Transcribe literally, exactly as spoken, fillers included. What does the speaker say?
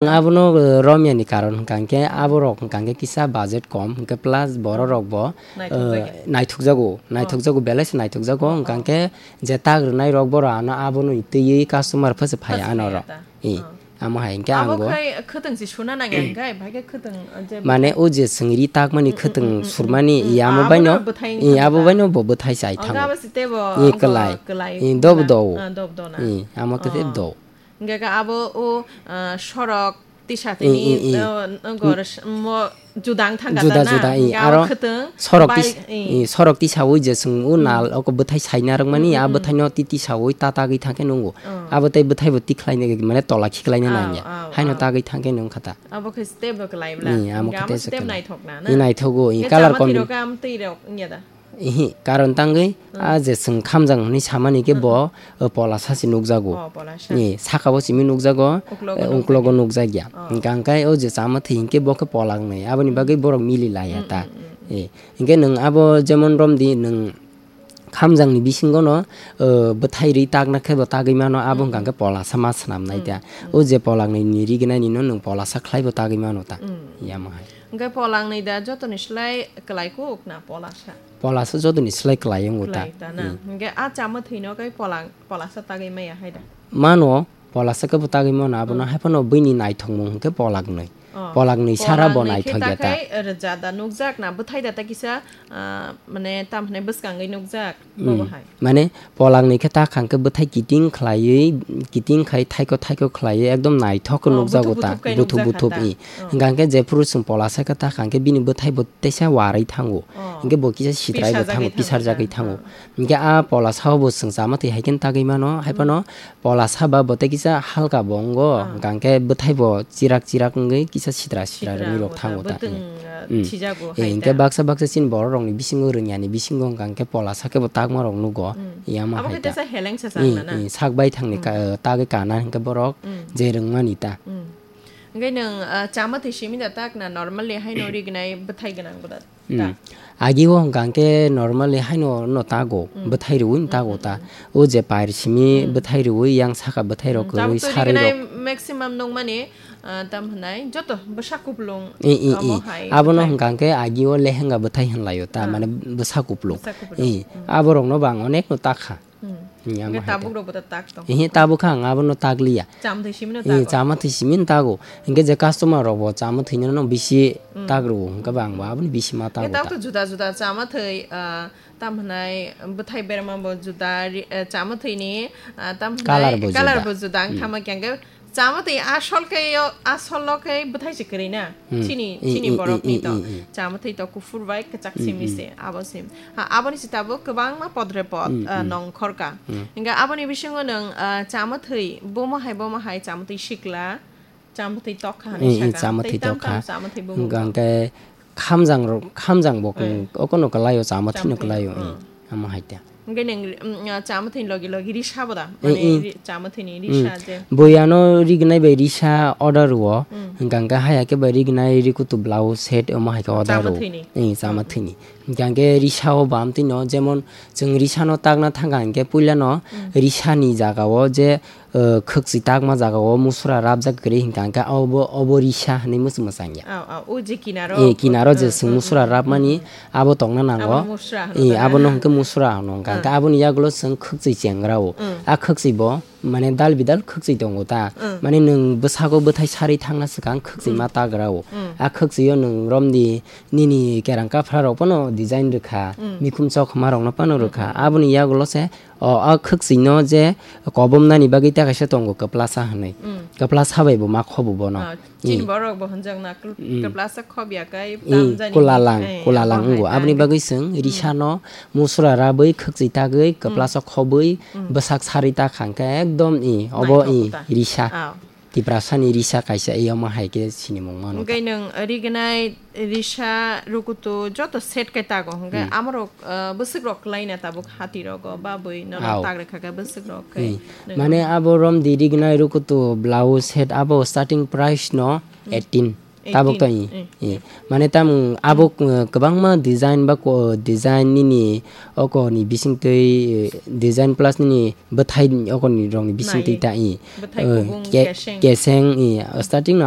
Ang abono, eh, romyani karon hwnkha hwnkhe aborok hwnkha hwnkhe kisa budget kom hwnkhe plus bororok bo, Naithok eh, jagwi. naithokjago, Oh. naithokjago, belai se naithokjago, Oh, hwnkha oh. hwnkhe je tak rwnairok borok ano abono twiwi customer phasa phai Phasa ano phai rok. ata. Eh, Oh. amo hai hwnkhe ang Abo bo khai khwtwng se suna nangya hwnkhe, bai khe khwtwng, eh, je Mane bo o je chwng ri takmani Mm, mm, khwtwng mm, mm, surmani, mm. i amo Abo baino, no bwthai i wngkha abo ta. baino bo bwthai chai Oh, thango. gabo se tebo I wngkha kwlai. kwlai I dob wngkha. do. Ah, dob do na. I amo khe Oh. do. Hingke ka abo o, ah, sorok tisa I, tini, i, i. ah, nogor s-, mo judang thangka Juda ta na? juda, i. Hingke abo Aro khwtwng sorok bai-, tis-, i. i, sorok tisawi je chwng o Mm. nal oko bwthai saina rwkmani, Mm, a mm, mm. bwthaino ti tisawi ta tagwi thangkhe nungo. Oh. Abo tei bwthaibo tikhlaina mane tola khiklaina Oh, nangya. oh, Haino oh. tagwi thangkhe nung khata. Abo khe step bo kwlai bla. I, amo Hingke khe abo tei se step kwlai. naithok na, I na? naithokgo, i, Hingke colour amo twi combin-, rok am twi rok wngya da? Ihi, karon tangwi Hmm. a je chwng khamjang hwnwi samani khe Hmm. bo, o, pola sa se nukjago. Oh, pola sa. I, saka bo simi nukjago, Uklogo eh, nukjakya. uklogo nukjakya. Oh. Hingkha hwnkhe o je chama thwi hinkhe bo khe pola wngnai. Aboni Hmm. bagwi borok mili laya Hmm, ta. hmm, hmm, hmm. I, hinkhe nwng abo jemon romdi nwng khamjangni bisingo no, o, bwthai rwi takna khe bo tagwi mano, abo Hmm, hwnkha hmm. hwnkhe pola sa ma swnam nai Hmm, ta. hmm. O je pola wngnai ni rignai ni no nwng pola sa khlai bo tagwi mano ta. Hmm. Yamo hai. Hwnkhe pola wngnai da jotoni slai kwlai kuk na pola sa? Pola sa jotoni slai kwlai wngo ta. Kwlai ta na. Hmm. Hingke a chama thwino kai polang, polasa tagwi maya hai da. Mano, polasa khe bo tagwi mano, abono Hmm. hai phano buini naithokmung hwnkhe pola gnwi. Oh. Pola gnwi sara bo Pola gnwi khe naithok ya ta ta. khai rwja da nukjak na, bwthai da ta kisa, ah, mane tam hwnai bwskangwi nukjak, Hmm. bobo hai. Mane pola gnwi khe ta khang khe bwthai kiting khlaiwi, kiting khai thaiko thaiko khlaiwi ekdom naithok khe Oh, nukjago buthuk ta, buthuk khai buthuk nukjak buthuk kha ta. i. Oh. Hwnkha hwnkhe jephuru chwng polasa khe ta khang khe bini bwthai bo teisa warwi thango. Oh. Hingke bo kisa sitrai bo Pisarjagwi thango, thango, pisarjagwi ah, thango. ah. Hingke a pola sao bo chwng chama twi hai khe tagwi mano, hai Hmm. phano pola saba bo tei kisa halka bo wngo, Ah. hingka hingke bwthai bo chirak chirak wngwi kisa sitra sitra Sitra rwngwi rok bo ta, thango ta. bwtwng, Hmm. ah, Hmm. thijago Eh, hai hingke ta. baksa baksa chini borok rokni bisingo rwngya ni bisingo hingka hingke pola sakhe bo takma rok nugo. Hmm. Yama Abo hai khe ta. teisa heleng sa Hmm, chang na na. hmm, sak bai thangni Hmm. ka-, tagwi kana hingke borok Hmm. je rwngmani ta. Hmm. Hingke nwng, ah, chama twi simi da tak na normally haino rignai bwthai gwnang bo da? Hmm. Ta. Agi o hwnkha hwnkhe normally haino no tago, Hmm. bwthai rwui no Hmm, tago hmm, ta. hmm. O je pair simi Hmm. bwthai rwui yang saka bwthai rok Hmm, kwrwi tabuk to sarwi rignai rok. maximum nukmani, ah, tam hwnai joto bwsa kuplung I, i, omo i. hai Abono bwthai. Hwnkha hwnkhe agi o lehenga bwthai hwnlaio ta, Ah. mane bwsa kuplung. Bwsa kuplung. I, Hmm. aborokno bo ang onek no takha. Hmm. Hmm, amo Hingke hai ta. tabuk rok bo ta tak tong. Ihi tabuk kha ang abono takliya. Chama thwi simi no Eh, tago. chama thwi simi no tago. Hingke je customer rok bo chama thwino no bisi Hmm. tak rwo, hingke bo ang bo abono bisi ma tago Hingke ta. tabuk to juda juda chama thwi, ah, tam hwnai bwthai berma bo juda ri-, eh, chama thwini, ah, tam hwnai Colour bo colour juda. bo juda. Hmm. Wngtama khe hingke chama thwi asol khe yo, asol o khe bwthai se kwrwi na. Hmm. Chini, Hmm, chini hmm, borok hmm, ni to. hmm, hmm. Chama thwi to kuphur bai kwchak Hmm, simi hmm. se, abo sim. Ha, aboni sita bo kwbangma podre pod, Hmm, ah, hmm. nongkhorka. Hmm. Hingke aboni bisingo nwng, ah, chama thwi, bomo hai, bomo hai chama thwi sikla, chama thwi tokha hinwi Hmm, hmm, saka. chama Tei thwi tam tokha. tam chama thwi bomo Hingka bo. hingke khamjang rok, khamjang bo Hmm. okono kwlaio, chama thwino Chama thwi, kwlaio, hmm. hmm. Amo hai ta. Hingke nwng, mm, ah, chama thwini logi logi risa bo da? Eh, Mane eh. ri-, chama thwini Mm. risa je. Bui ano rignai bai risa order rwo. Mm. Hingka hingke haya khe bai rignai rikutu blouse set omo hai khe order Chama rwo. thwini. Eh, chama Mm. thwini. Hingka hingke risa o bam twino jemon chwng risa no takna thangka hingke puila no Mm. risa ni jaga o je, eh, khwkchwi takma jaga o musura rabjak kwrwi hingka hingke obo, obo risa hinui muchung mwchang ya. Aw, aw, o je kinaro, Eh, kinaro je ah, chwng ah, musura ah, rabmani ah, ah. abo tongna nango. Abo musura hwno Eh, ta. Abono hingke musura hwno hingka hingke Ah. aboni yagulo chwng khwkchwi chengra o. Mm. A khwkchwi bo mane dal bidal khwkchwi tongo ta. Mm. Mane nwng bwsago bwthai sarwi thangna swkang khwkchwi Mm. ma tagra o. Mm. A khwkchwi o nwng romdi nini kerang kaphra rok phano design rwkha, Mm. mikhum chokma rok no phano rwkha. Mm, mm, mm. Aboni yagulo se o, a khwkchwi no je kobom nani bagwi ta kaisa tongo kwplasa hinui. Mm. Kwplasa bai bo ma khobo bono. Ah, chini Eh. borok bo hwnjak na kl-, Mm. kwplasa khobya kai Eh, tam jani kulalang, eh, kulalang abo hai wnggo. ta Aboni hwnkhe. bagwi chwng Mm. risa no musura rabwi khwkchwi tagwi Mm. kwplasa khobwi Mm. bwsak sarwi ta khang khe ekdom i obo Naithok i ta. risa. Ah. Tiprasa ni risa kaisa i omo hai khe sinimung mano ta. Hwnkhe nwng rignai risa rukutu joto set khe tago hwnkhe Mm. amorok, ah, bwswk rok kwlai na tabuk hati rogo ba bwi norok Au. tag rwkha khe bwswk rok khe Mm. nwng Mane abo romdi rignai rukutu blouse set abo starting price no Mm. eighteen. Tabuk to i, i. Mane tam abuk, uh, kwbangma design ba ko design nini oko ni bising twi, uh, design plus nini bwthai oko ni rong ni bising twi ta i. Bwthai Uh, kubung ke-, keseng. Keseng i. Starting no